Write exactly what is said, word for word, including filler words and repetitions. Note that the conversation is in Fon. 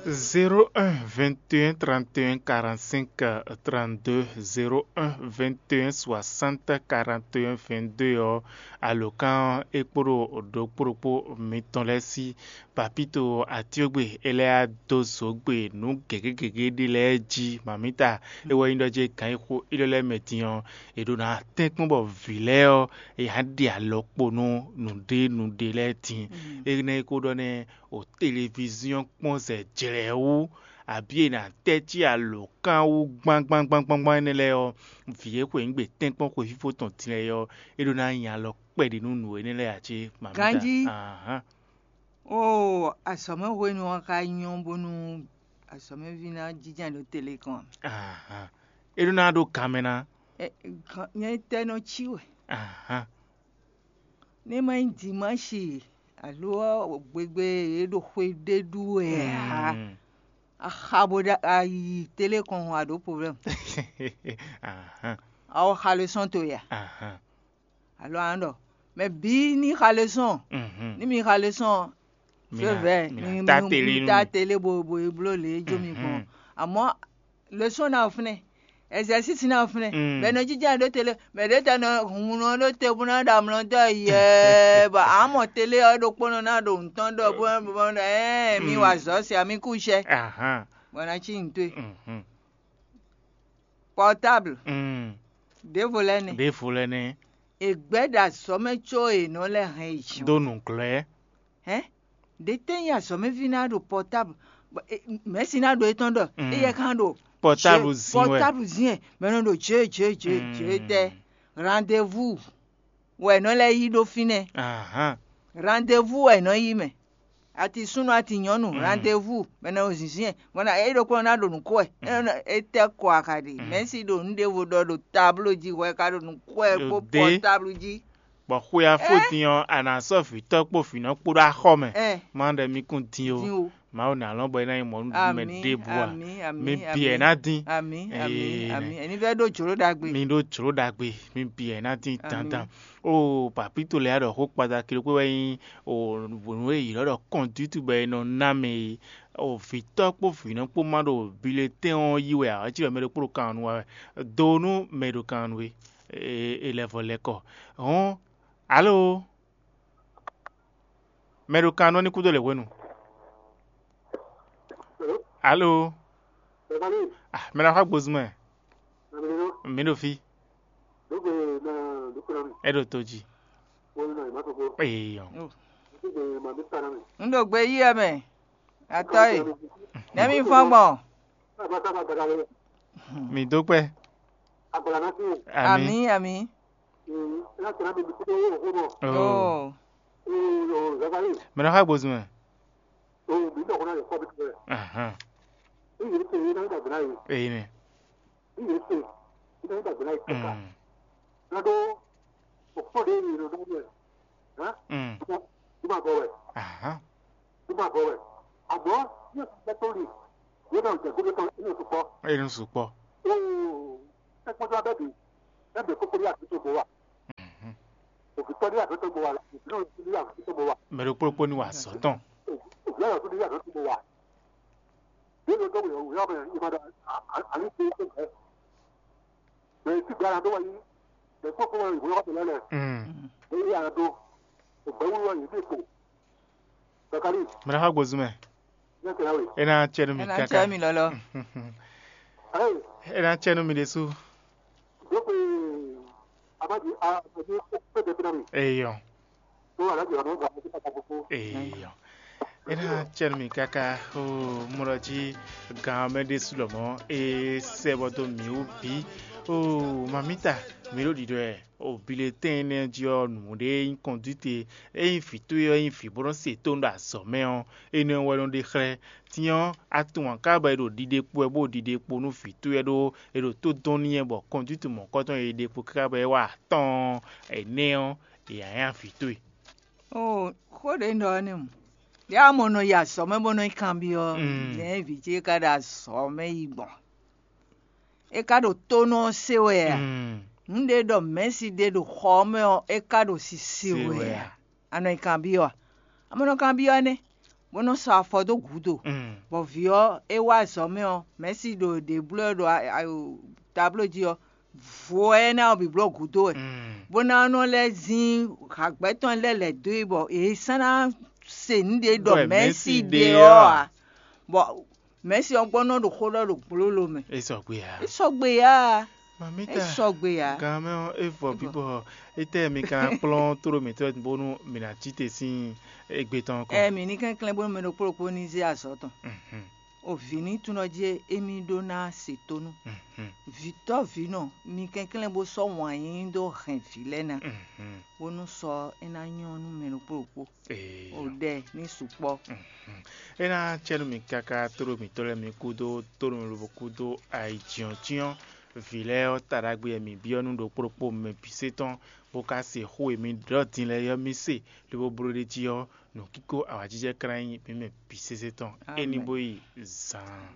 Zéro un vingt et un trente et un quarante-cinq trente-deux, zéro un vingt et un soixante quarante et un vingt-deux ɔ́, alǒkan ɔ́ é kpódó ɖokpó ɖokpó mitɔn lɛ́ɛ sí. Papíto atíogbe é lɛ́ɛ dó zǒgbe nǔ gěgé gěgé ɖé lɛ́ɛ jí. Mamǐta é wɛ nyí ɖɔ jɛ gǎn e xo élɔ́ lɛ́ɛ mɛ din ɔ́, è ɖǒ ná tɛ́nkpɔ́n bɔ vǐ lɛ́ɛ ɔ́, è nǎ ɖe alɔ kpo nú nǔɖé nǔɖé lɛ́ɛ din. Énɛ́ e ko ɖɔ nɛ́, o televiziɔn kpɔ́n zɛ jlɛ̌ wú, abǐ è nǎ tɛ́ cí alǒkan wú gbángbángbángbán énɛ́ lɛ́ɛ ɔ́, vǐ e xwe nǔ gbe tɛ́nkpɔ́n xwefífó tɔn din lɛ́ɛ ɔ́, é ɖó ná nyi alɔ kpɛɖi nú nǔ énɛ́ lɛ́ɛ ǎ cé? Mamíta. Ganjí. Ahán. Oo, azɔ̌mɛ hwenu ɔ́ ka nyɔ́ bónú azɔ̌mɛví ná jínjɔ́n ɖo tele kɔn. Ahán. É ɖó ná ɖó gan mɛ ná. Ɛ, gan- nyɛ tɛ́ nɔ cí wɛ. Ahán. Ní ma nyí dimáshi alo gbegbe e ɖo xwe ɖé ɖu wɛ ǎ, Mm. Axa bo ɖa ayi tele kɔn a ɖǒ problème. Ahán. Awo xa le sɔn to ya. Ahán. Alo an ɖɔ mɛ bí ní xa le sɔn. Mhm. Ní mi xa le sɔn. Mi fé na- vɛ mi na mi ta mi- tele mi nú ta mi. Tele bo bo e bló lě e jó mi gbɔn. Mhm. Àmọ́ le sɔn ná fúnɛ, exercice ná fúnɛ. Mm. Bɛ nɔ jíjá ɖó tele mɛ ɖé tɛ nɔ hun nɔ ɖó te bó ná ɖo amlɔ dɔ yɛ bɔ amɔ tele ɔ ɖokpó nɔ ná ɖo nǔtɔn ɖɔ bó bó bó ɛ mi Mm. Wa zɔ se ami kú sɛ. Ahán. Bɔ ná cí nǔtɔe. Mhm. Portable. Mm. Ɖěvo lɛ́ɛ nɛ. Ɖěvo lɛ́ɛ nɛ. È gbɛ́ ɖo azɔ̌ mɛ có è nɔ lɛ́ hɛn yi jǐ. Dó nǔglɔ́. Hɛn? Ɖě tɛ́ nyí azɔ̌mɛví ná ɖo portable? Bɔ, e, mɛ̌si ná ɖo étɔn ɖɔ Mm. Éyɛ́ kan ɖo Portable jɛ- zin wɛ. Portable zin wɛ. Mɛ nɔ ɖo jě jě jě jě Mm. Tɛ. Rendez-vous wɛ è nɔ lɛ́ yí ɖó fínɛ́. Ahán. Rendez-vous wɛ è nɔ yí mɛ. Ati súnnu ati nyɔ̌nu Mm. Rendez-vous mɛ nɔ zinzin ɛ mɔ na é ɖokpó ná ɖo nǔ kó ɛ. Mm. É tɛ kɔ akaɖi Mm. Mɛ̌si ɖo nǔ ɖěvo ɖɔ ɖo tablo jí hwɛ ka ɖo nǔ kó ɛ Ɖo kpó dé. Portable jí. Bɔ xwe afó Ɛ? Din ɔ́, a nǎ sɔ́ vǐtɔ́ kpó vǐnɔ kpó ɖó axɔ mɛ. Ɛ. Má ɖɔ mi kún dín Dín ó. O. Mawu ná lɔn bɔ é ná nyí mɔnú mɛ Amí, ɖěbǔ a? Amí, amí, Mi amí. Bǐ ɛ ná dín. Amí, amí, Ee, amí. Ɛni vɛ ɖó jlǒ ɖagbe. Mi ɖó jlǒ ɖagbe, mi bǐ ɛ ná dín Amí. Dandan. O papito lɛ́ɛ ɖɔ xó kpata kilo kpé wɛ nyí o nǔ e yǐ lɔ ɖɔ kɔndútu bɔ è nɔ ná mɛ e o vǐtɔ́ kpó vǐnɔ kpó má ɖo bilɛtɛ́n ɔ́ yí wɛ ǎ, é cí ɖɔ mɛ ɖokpó ɖo kan ɔ́ nu wá wɛ. Do nú mɛ e ɖo kan ɔ́ nu é, é lɛ́ vɔ lɛ́ kɔ. Hɔn, alo? Mɛ ɖo kan ɔ́ ní kúdó lě hwenu. Alo? Ah, mɛ ɖo axwá gbozun mɛ. Mi ɖo fí. É ɖo to jí. Eyɔ. Oh. Un ɖo gbe yí ɛ mɛ. Atɔ e. Nɛ́ mi fɔ́n gbɔn? Mi dó kpɛ. Amí. Amí, amí. Oh. Oh. Mɛ ɖo axwá gbozun mɛ. Ahán. Eyi nɛ. Mm. Mm. Ahán. Inú sukpɔ. Mhm. Mɛ ɖokpó ɖokpó ní wa azɔ̌ tɔn. Mm. Mɛ ɖo axwá gbozun mɛ. É ná cɛ nú mi Ena káká. Cɛ mi lɔlɔ. É ná cɛ nú mi ɖésú. Eyɔ. Eyɔ. É ná cɛ nú mi káká. O mɔ ɖɔ jí gan mɛ ɖésú lɔmɔ é sɛ bɔ dó mǐ wú bǐ. O mamita, mǐ ɖo ɖiɖɔ ɛ. O bilɛtɛn énɛ́ jí ɔ́, nǔɖé nyí kɔndíte. Ényí vǐ towe ɔ́ nyí vǐ bó nɔ́ se tónú ɖo azɔ̌ mɛ ɔ́, énɛ́ wɛ nɔ ɖe xlɛ́. Din ɔ́, a tunwun aká bɔ è ɖo ɖiɖe kpo wɛ bó ɖo ɖiɖe kpo nú vǐ towe ɔ́ ɖó è ɖo tó dɔn n'i wɛ bɔ kɔndíte mɔ̌kɔtɔn e è ɖe kpo káká bɔ é wa atɔ́ɔ́n ɛnɛ́ ɔ́, è nǎ nya vǐ towe. Oo, xó ɖě un ɖɔ ɔ́ nɛ́ mu. Yá mɔ nɔ yi azɔ̌ mɛ bó nɔ yi kanbyɔ́, Mm. Nɛ̌ vǐ ce ka ɖo azɔ̌ mɛ yi gbɔn? É ka ɖo tónú ɔ́ se wɛ a? Mm. Nǔ ɖé ɖɔ mɛ̌si ɖé ɖo xɔ ɔ́ mɛ ɔ́, é ka ɖo sisi Se wɛ wɛ a? A? A nɔ yi kanbyɔ́ a? A mɔ nɔ kanbyɔ́ nɛ́. bó nɔ́ sɔ́ afɔ dó gǔdo. Bɔ vǐ ɔ́, é wá azɔ̌ mɛ ɔ́, mɛ̌si ɖo ɖě bló ɛ ɖo tabló jí ɔ́, vo ɔ́ énɛ́ ɔ́ bǐ bló gǔdo wɛ, bó ná nɔ lɛ́ zín hǎgbɛ́ tɔn lɛ́ɛ lɛ̌ dó e bɔ è sɔ́ ná se nǔ ɖé ɖɔ mɛ̌si ɖe ɔ́ ǎ. Bɔ mɛ̌si ɔ́ gbɔ nɔ ɖo xó ɖɔ ɖo gblólo mɛ. É sɔgbe ǎ. É sɔgbe ǎ. É sɔgbe ǎ. Gan mɛ ɔ́, é vɔ bǐ bɔ étɛ́ mi ka ná kplɔ́n tló mǐtɔn bónú mǐ ná cí te sín égbé tɔn kɔn? Ɛ mǐ ní kɛnklɛ́n bónú mɛ ɖokpó ɖokpó ní zé azɔ̌ tɔn. O vǐ ní tunɔ jí émí ɖó ná se tónú. Vǐtɔ́vǐnɔ, mi kɛnklɛ́n bó sɔ́ wǎn yíyí dó hɛn vǐ lɛ́ɛ ná, bónú sɔ é ná nyɔ́ nú mɛ ɖokpó ɖokpó. O ɖɛ ní sukpɔ́. É ná cɛ nú mi káká tóɖó mǐtɔn lɛ́ɛ mi kúdó tónú lobo kúdó ayǐjínjɔ́n vǐ lɛ́ɛ ɔ́ ta ɖagbe e mǐ byɔ́ nú ɖokpó ɖokpó mɛ bǐ se tɔn, bó ka se xó e mi ɖɔ din lɛ́ɛ ɔ́ mi se, lobo bló ɖ'é jí ɔ́, nǔkíko awǎjijɛ ka ná nyí mǐ mɛ bǐ sésé tɔn. É ní bó yi zaan.